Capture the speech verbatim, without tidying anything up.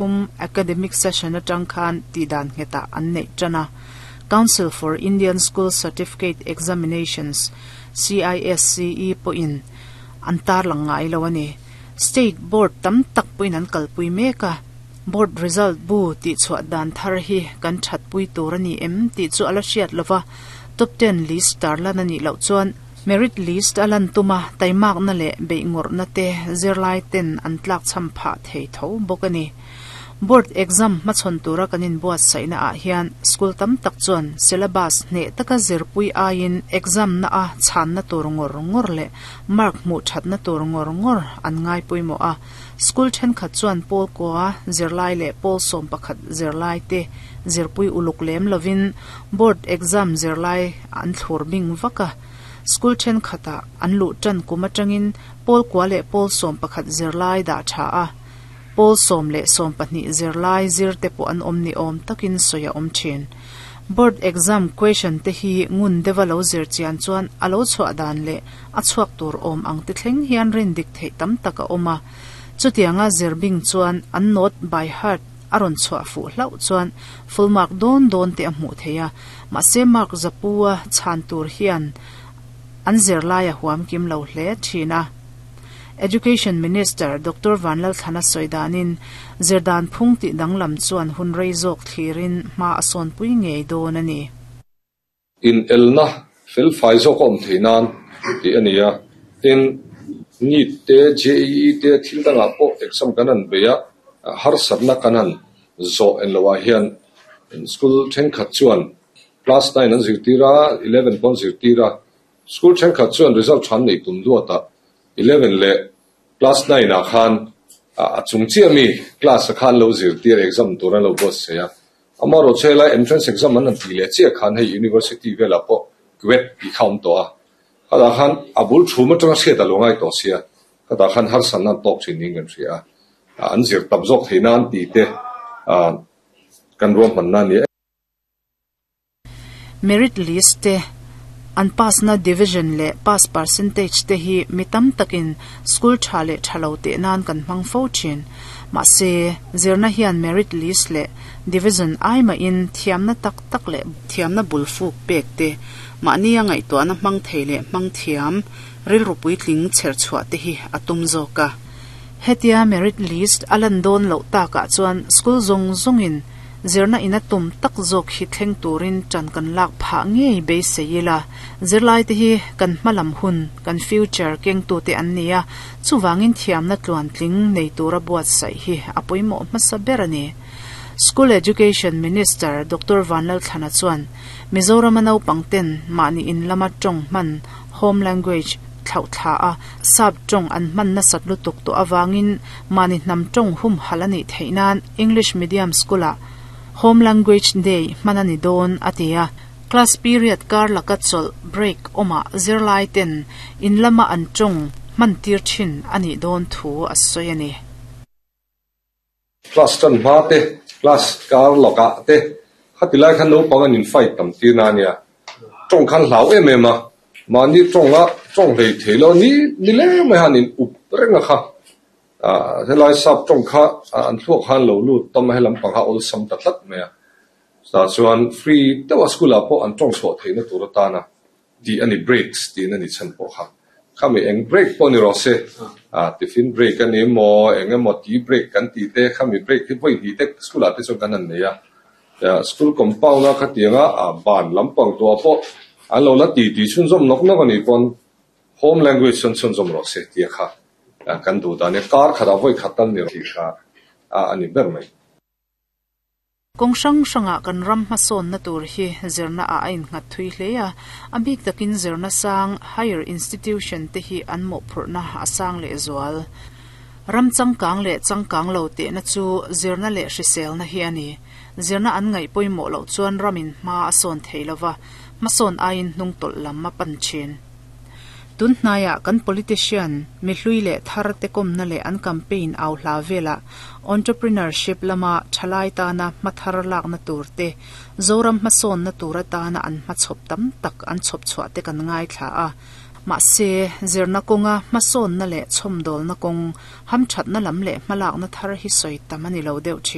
Um academic session atang khan ti dan ngeta an nei tana Council for Indian School Certificate Examinations C I S C E po in an tar lang ngai lo ani. State board tam tak puin an kalpui meka. Board result bu ti chhuwa dan thar hi kan that pui tur ani em ti chu ala hriat lova. Top ten list tar lan ani lo chuan merit list alan tuma taimak na le beingor na te zirlai ten an tlak cham pha thei tho bok ani. Board exam ma chon tura kanin buat saina a hian school tam tak chuan syllabus ne taka zirpui aiin exam na a chan na tur ngor ngor le mark mu that na tur ngor ngor an ngai puimo a. School then khat chuan pawl kwa zirlai le pawl som pakhat zirlai te zirpui uluk lem lovin board exam zirlai an thlur bing vaka. School then khata an lu tan kuma tangin pawl kwa le pawl som pakhat zirlai da tha a, pawl som le som pahnih zirlai zir te pawh an awm ni awm takin sawi a awm thin. Board exam question te hi ngun deuha lo zir chian chuan a lo chhuah dan leh a chhuak tur awm ang ti thleng hian rin dik theih tam tak a awm a. Chutianga zir bing chuan an note by heart a rawn chhuah fuh hlauh chuan full mark dawn dawn te a hmuh thei a. Mahse mark zapua chhan tur hian an zirlai a huam kim lo hle thin a. Education Minister Doctor Vanlal Thana Soidanin zirdan phung ti danglam chuan hun rei zawk thlirin hma a sawn pui ngei dawn ani. In elna fel fai zawk awm thei nan ti ani a. Tin, NEET te, J E E te, thil dangah pawh exam kan an bei a, harsatna kan han zawh en loah hian school thenkhat chuan class nine an zirtir a, eleven pawh an zirtir a. School thenkhat chuan result than nei tum duata eleven le class nine ah khan a chung chiah mi class a khan lo zirtir exam tur an lo buat sei a. Ama ro chela entrance exam an an ti leh chiah khan hei university velah pawh CUET ti kha awm tawh a. Khatah khan a bul thu atanga hriat a lo ngai tawh sia, khatah khan harsat nan tawk thin ning kan hria a. An zir tam zawk thei nan ti te kan ruam hman na ni. Merit list te, an pass na division le pass percentage te hi mitam takin school tha le thalo te nan kan hmang fo thin. Ma se zirna hian merit list le division ai ma in thiamna tak tak le thiamna bulfuk pek te, mahni a ngaih tuahna hmang thei leh hmang thiam rilru puitling chher chhuah te hi atum zawk a. Hetia merit list alan dawn loh takah chuan school zawng zawngin zirna ina tum tak zawk hi thleng turin tan kan lak phah ngei beisei ila. Zirlai te hi kan hmalam hun, kan future keng tu te an nia, chuwangin thiamna tluan tling nei tura buat sai hi a pawimawh hmasa ber ani. School Education Minister Doctor Vanlal Thana chuan Mizoram naupang ten mahni in lama tawng hman, home language, thlauh thla a sap tawng an hman na sat lutuk to awangin mahni hnam tawng hum halani theinan English medium school a home language day hmanani dawn atia. Class period kar laka chol break oma zirlai ten in lama an tawng hman tir thin ani dawn thu a sawi ani. Class tan hma te, class kar laka te, khatilai khan naupang an in fight tam tir na ania. Tawng khan hlau em em a, mahni tawnga tawng hlei thei lo ni ni le mai han in up renga kha a. Helai sap tawng kha an thluak khan lo lut tam he lampang kha awlsam ta tlat mai a. Ta chuan free deuha school ah pawh an tawng chhuah theihna tur atana ti ani breaks tin ani chan pawh kha. Khami eng break pawh ni rawh se, a tiffin break ani emaw, eng emaw tea break kan ti te, khami break hi vawi hnih te school ah te chuan kan han nei a. School compound a khatianga a ban lampang tua pawh an lo la ti ti chhunzawm nawk nawk ani pawn home language chuan chhunzawm rawh se tia kha kan duh dan e. Kar khatah vawi khat tal ni ti kha a ani ber mai. Kawng hrang hranga kan ram hmasawn na tur hi zirna a a innghat thui hle a. A bik takin zirna sang, higher institution te hi an mawhphurhna a sang leh zual. Ram changkang leh changkang lo te na chu zirna leh hriselna hi ani. Zirna an ngaih pawimawh loh chuan ramin hma a sawn thei lova, hmasawn aiin hnung tawlh lam a pan thin. Tun hnaiah kan politician mi hlui leh thar te kawmna leh an campaign au hla vela entrepreneurship lama thalai tana hmathar lakna tur te, Zoram hmasawn na tur atana an hmachhawp tam tak an chhawp chhuah te kan ngai thla a. Mahse zirna kawnga hmasawn na leh chhawmdawlna kawng hamthatna lam leh hmalakna thar hi sawi tam ani lo deuh thin.